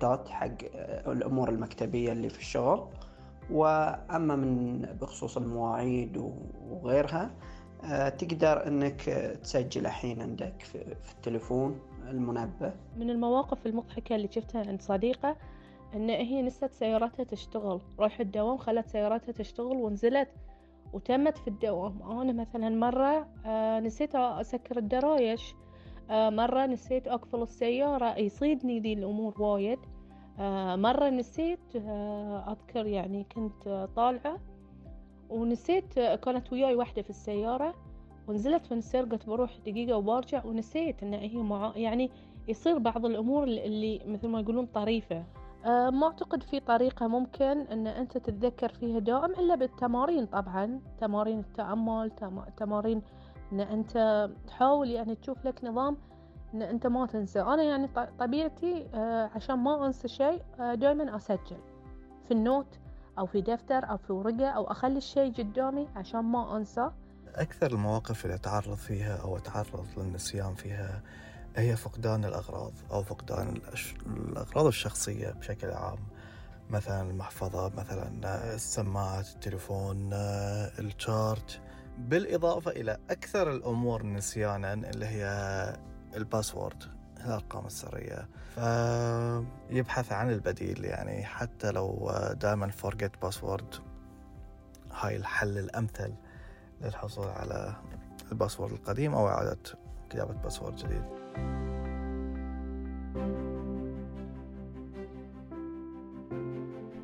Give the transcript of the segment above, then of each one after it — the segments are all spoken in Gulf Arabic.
ريبورتات حق الأمور المكتبية اللي في الشغل. وأما بخصوص المواعيد وغيرها، تقدر أنك تسجل الحين عندك في التليفون المنبه. من المواقف المضحكة اللي شفتها عند صديقة أن هي نسيت سيارتها تشتغل، رايحة الدوام خلت سيارتها تشتغل ونزلت وتمت في الدوام. أنا مثلا مرة نسيت أسكر الدرايش، مرة نسيت أقفل السيارة، يصيدني ذي الأمور وايد. مرة نسيت أذكر يعني كنت طالعة ونسيت، كانت وياي واحدة في السيارة ونزلت في السير، قلت بروح دقيقة وبرجع ونسيت إن هي يعني يصير بعض الأمور اللي مثل ما يقولون طريفة. ما أعتقد في طريقة ممكن أن أنت تتذكر فيها دائم إلا بالتمارين. طبعا تمارين التأمل، تمارين أن أنت تحاول يعني تشوف لك نظام أن أنت ما تنسى. أنا يعني طبيعتي عشان ما أنسى شيء دائما أسجل في النوت أو في دفتر أو في ورقة، أو أخلي الشيء قدامي عشان ما أنسى. أكثر المواقف اللي أتعرض فيها أو أتعرض للنسيان فيها هي فقدان الأغراض أو فقدان الأغراض الشخصية بشكل عام، مثلا المحفظة، مثلا السماعات، التليفون، الشارج، بالإضافة إلى أكثر الأمور نسيانا اللي هي الباسورد، الأرقام السرية. فيبحث عن البديل، يعني حتى لو دائما forget password، هاي الحل الأمثل للحصول على الباسورد القديم أو إعادة كتابة باسورد جديد.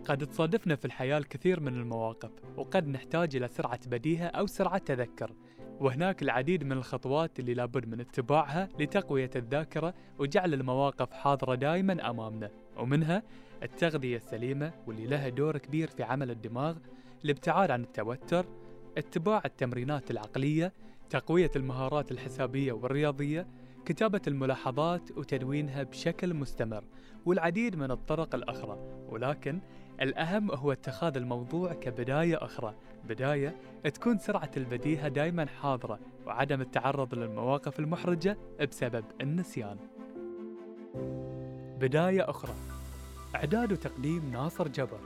قد تصادفنا في الحياة الكثير من المواقف، وقد نحتاج إلى سرعة بديهة أو سرعة تذكر، وهناك العديد من الخطوات اللي لابد من اتباعها لتقوية الذاكرة وجعل المواقف حاضرة دائما أمامنا. ومنها التغذية السليمة واللي لها دور كبير في عمل الدماغ، الابتعاد عن التوتر، اتباع التمرينات العقلية، تقوية المهارات الحسابية والرياضية، كتابة الملاحظات وتدوينها بشكل مستمر، والعديد من الطرق الأخرى. ولكن الأهم هو اتخاذ الموضوع كبداية أخرى، بداية تكون سرعة البديهة دائما حاضرة، وعدم التعرض للمواقف المحرجة بسبب النسيان. بداية أخرى، إعداد وتقديم ناصر جبر،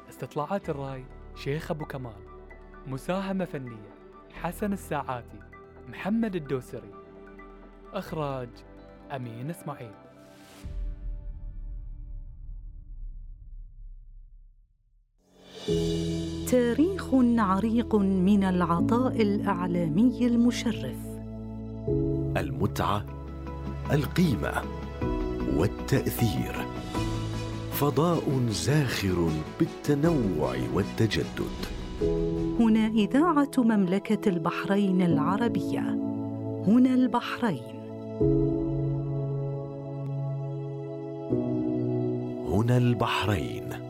استطلاعات الرأي شيخ أبو كمال، مساهمة فنية حسن الساعاتي، محمد الدوسري، إخراج أمين إسماعيل. تاريخ عريق من العطاء الإعلامي المشرف، المتعة، القيمة والتأثير، فضاء زاخر بالتنوع والتجدد. هنا إذاعة مملكة البحرين العربية، هنا البحرين، هنا البحرين.